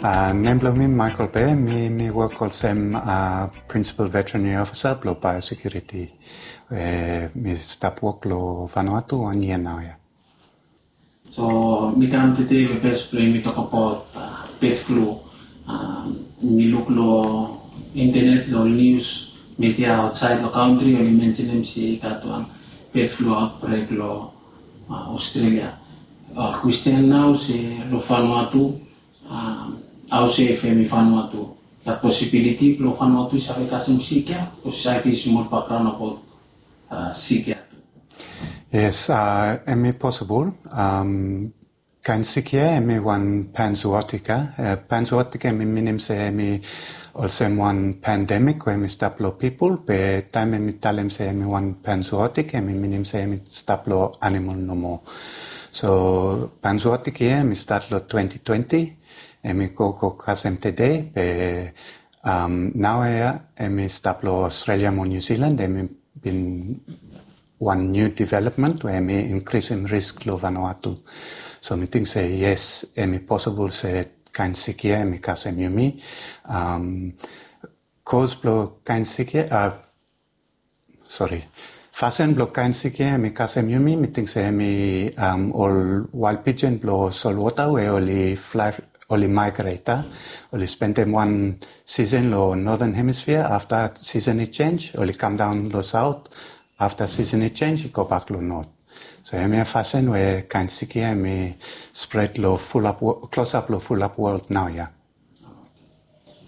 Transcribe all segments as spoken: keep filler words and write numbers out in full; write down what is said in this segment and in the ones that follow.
Uh, nem blong mi Michael Be, mi mi wok olsem uh, Principal Veterinary Officer blong Biosecurity. Uh, mi stap wok lo Vanuatu wan yia nau ya. So mi kam tede we bes blong mi tok abaot uh, bird flu. Uh, mi luk lo internet lo news media outside lo country oli mentionem se i gat wan bird flu outbreak lo uh, Australia. Uh, question nau se lo Vanuatu um, au se if em i Vanuatu. That possibility blong Vanuatu i save kasem sik ya, o save smol background about uh, sik ya. Yes, uh, em i possible. Um, kain sik ya em i wan panzootic. Uh, panzootic em i minim se em i olsem wan pandemic we em i stap lo people, be taim em i talem se em i wan panzootic em i minim se em i stap lo animal nomo. So panzootic ya em i stat lo twenty twenty, em i go go kasem tede, be um, nau ya em i stap lo Australia mo New Zealand, em i bin wan new development we em i increasem risk lo Vanuatu. So mi ting se yes, em i possible se kain sik ya em i kasem yumi. Um, cause blo kain sik ya, uh, sorry, fasin blo kain sik ya em i kasem yumi, mi ting se em i um, ol wild pigeon blo solwota we oli fly, oli migrate, uh, oli spendem wan season lo Northern Hemisphere, afta season i change oli kam daon lo South, afta season i change i go bak lo North. So em ya fasin we kain sik ya em i spread lo fulap, close up lo fulap world nau ya.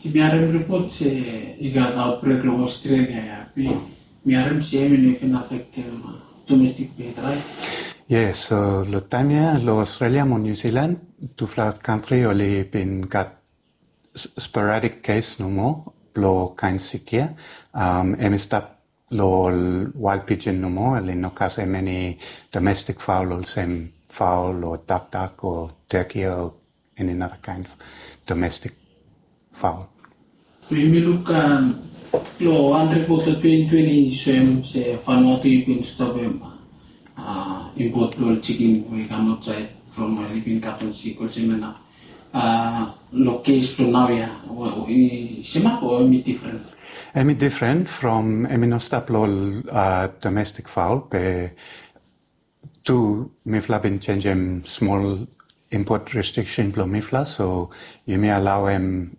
Ki mi harem ripot se i gat outbreak lo Australia ya, be mi harem se em i no even affectem domestic bird, right? Yes, so lo taim ya lo Australia mo New Zealand, tufala country oli bin gat sporadic case nomo blo kain sik ya. Um, em i stap lo ol wild pigeon nomo, oli no kasem eni domestic fowl olsem fowl o dakdak o turkey o eni nara kain domestic fowl. Mi mi luk um, lo wan ripot lo twenty twenty i soem se Vanuatu i bin stopem uh, import lo chicken we i kam outside from uh, i bin kapen sik olsem ya nau. Uh, lo case blo nau ya, i semak o em i different? Em i different from, em i no stap lo ol uh, domestic fowl, be tu mifala bin changem smol import restriction blo mifala, so yumi alaoem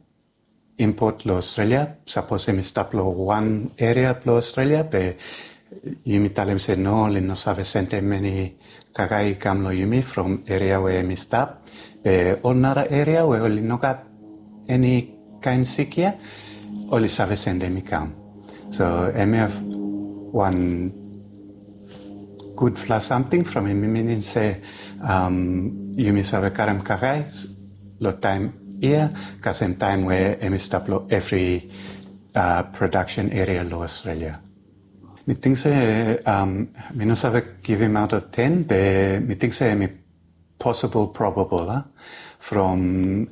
import lo Australia, sapos em i stap lo wan area blo Australia, be yumi talem se no, oli no save sendem eni kakae i kam lo yumi from area we em i stap, be ol nara area we oli no gat eni kain sik ya, oli save sendem i kam. So em i wan gudfala samting from em i minim se um, yumi save karem kakae lo taim ya, kasem taim we em i stap lo evri uh, production area lo Australia. Mi ting se um, mi no save givim out of ten, be mi ting se em i possible, probable, uh, from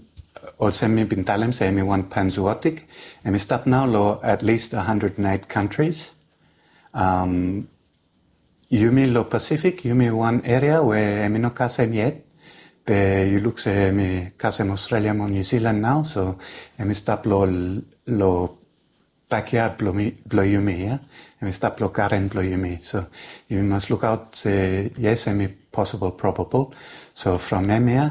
olsem mi bin talem se em i wan panzootic, em i stap nau lo at least one hundred and eight countries. Um, yumi lo Pacific, yumi wan area we em i no kasem yet, be yu luk se em i kasem Australia mo New Zealand nau, so em i stap lo, lo backyard blo, mi, blo yumi ya, em i stap lo garden blo yumi. So yumi mas lukaot se yes, em i possible, probable. So from em ya,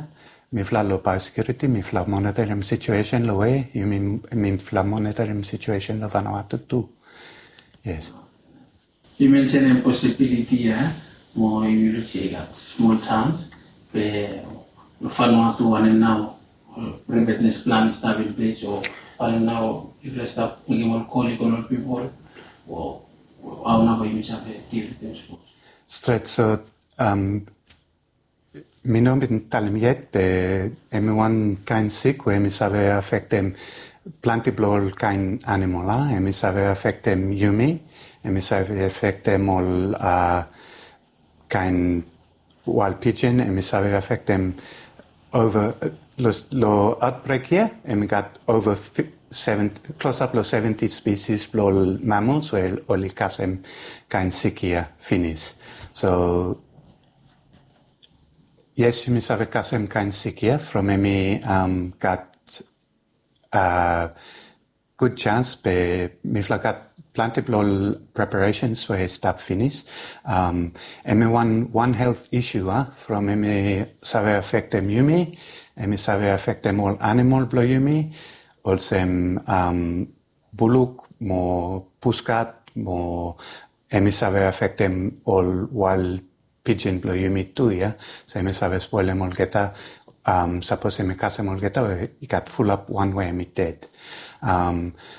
mifala lo biosecurity, mifala monitorim situation lo we, yumi, mifala monitorim situation lo Vanuatu tu. Yes. Yu mensenem posibiliti ya, mo yu luk se i gat smol chans, be Vanuatu wanem nau preparedness plan i stap in place, o wanem nau yufala stap mekem ol kol i go long ol pipol, o hao nau bae yumi save deal wetem sapos? Stret, so mi no bin talem yet, be em i wan kain sik we em i save afektem plante blong ol kain animal, a, em i save afektem yumi, em i save afektem ol kain wild pigeon, em i save afektem ova, long autbrek ya em i gat ova klosap long seventi spesis blong ol mammals we oli kasem kain sik ya finis. So yes, yumi save kasem kain sik ya from em i gat gud jans be mifala gat planti blong ol preparations we i stap finis. Em i wan wan health issue a from em i save afektem yumi, em i save afektem ol animal blong yumi, olsem buluk mo puskat mo em i save afektem ol wael pijin blong yumi tu ya. So em i save spolem olgeta sapos em i kasem olgeta we i gat fulap wan we em i ded.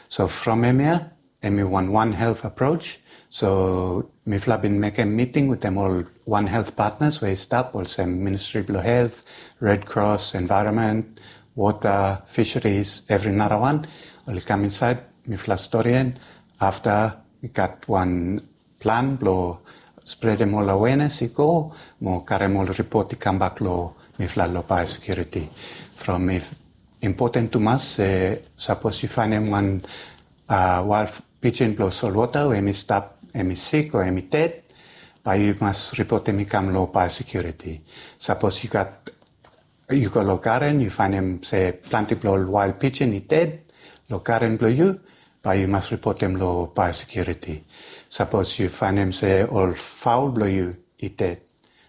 So from em ya em i wan wan health approach. So mifala bin mekem miting wetem ol wan health partners we i stap olsem Ministri blong Health, Red Cross, Environment, Water, Fisheries, evri narawan. Oli kam insaed, mifala storian afta i gat wan plan blong spredem ol awenes i go mo karem ol ripot i kambak long mifala long biosecurity. From i impoten tumas se sapos yu faenem wan wael pijin blong solwota we em i stap em i sik o em i ded, bae yu mas ripotem i kam long biosecurity. Sapos yu gat yu go long garen yu faenem se planti blong ol wael pijin i ded long garen blong yu, bae yu mas ripotem long biosecurity. Sapos yu faenem se ol faol blong yu i ded,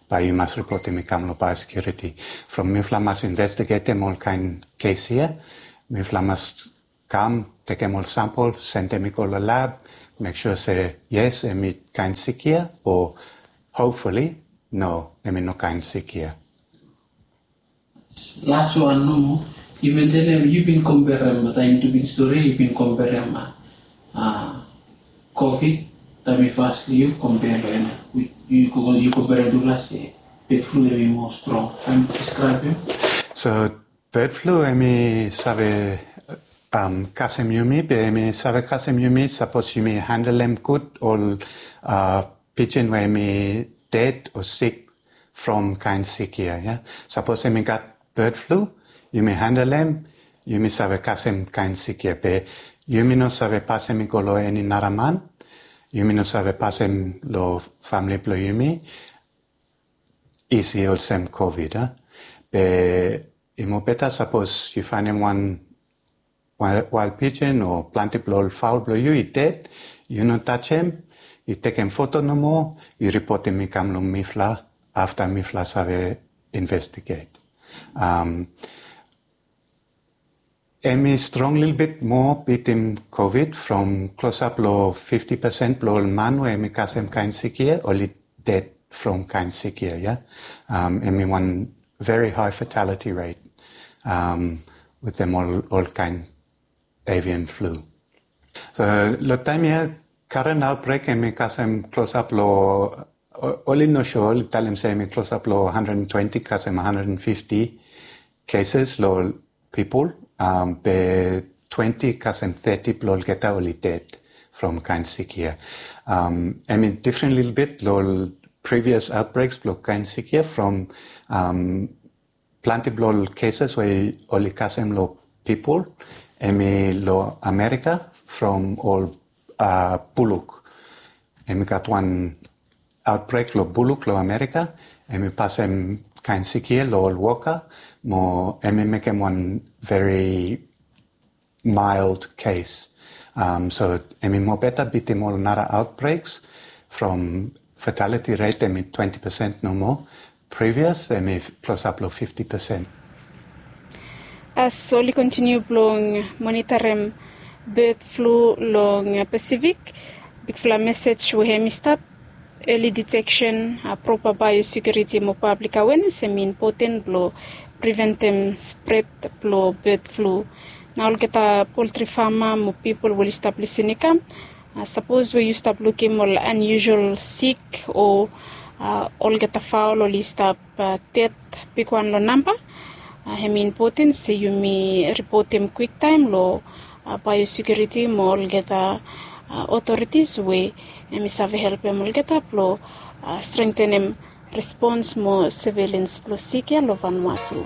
bae yu mas ripotem i kam long biosecurity. From mifala mas investigetem ol kaen kes ya, mifala mas kam tekem ol sampel, sendem i go long lab, mek sua se yes em i kaen sik ya o hopefully no, em i no kaen sik ya. Las wan nomo, yu mensenem yu bin komperem taem yu bin stori yu bin komperem covid taem i fas long yu komper long en yu komperem tufala se bird flu em i moa strong. Taem yu deskraebem. So bird flu em i save kasem yumi be em i save kasem yumi sapos yumi handlem gud ol pijin we em i ded o sik from kaen sik ya. Sapos em i gat bird flu, yumi handlem, yumi save kasem kaen sik ya be yumi no save pasem i go long eni nara man. Yumi no save pasem long famle blong yumi isi olsem covid a. Be i mobeta sapos yu faenem wan wael pijin o plante blong ol faol blong yu i ded, yu no tajem, yu tekem foto nomo, yu ripotem i kam long mifala afta mifala save investiget. Em i strong lilbit moa bitim covid from klosap long fifti pesen blong ol man we em i kasem kaen sik ya oli ded from kaen sik ya. Em i wan very high fatality rate wetem ol kaen avian flu. So long taem ya karen aotbrek em i kasem klosap long oli no sua oli talem se em i klosap long hundred and twenty kasem hundred and fifty cases long pipol, be twenty kasem thirty blong olgeta oli ded from kaen sik ya. Em i difren lilbit long ol previous outbreaks blong kaen sik ya from plante blong ol cases we oli kasem long pipol em i long Amerika from ol buluk. Em i gat wan aotbrek long buluk long Amerika, em i pasem kaen sik ya long ol woka mo em i mekem wan very mild case. So em i mobeta bitim ol nara outbreaks from fatality rate em i twenty pesen nomo. Previous em i klosap long fifti pesen. As oli kontiniu blong monitarim bird flu long Pasifik, bigfala mesej we hem i stap, early detection, proper biosecurity mo public awareness hem i impoten blong preventem spred blong bird flu. Na olgeta poultry fama mo pipol we oli stap lisin i kam, sapos we yu stap lukim ol unusual sik o olgeta faol oli stap ded bigwan long namba, hem i impoten se yumi ripotem kwiktaem long biosecurity mo olgeta authorities we hem i save helpem olgeta blong strengthenem respons mo surveillance blong sik ya long Vanuatu.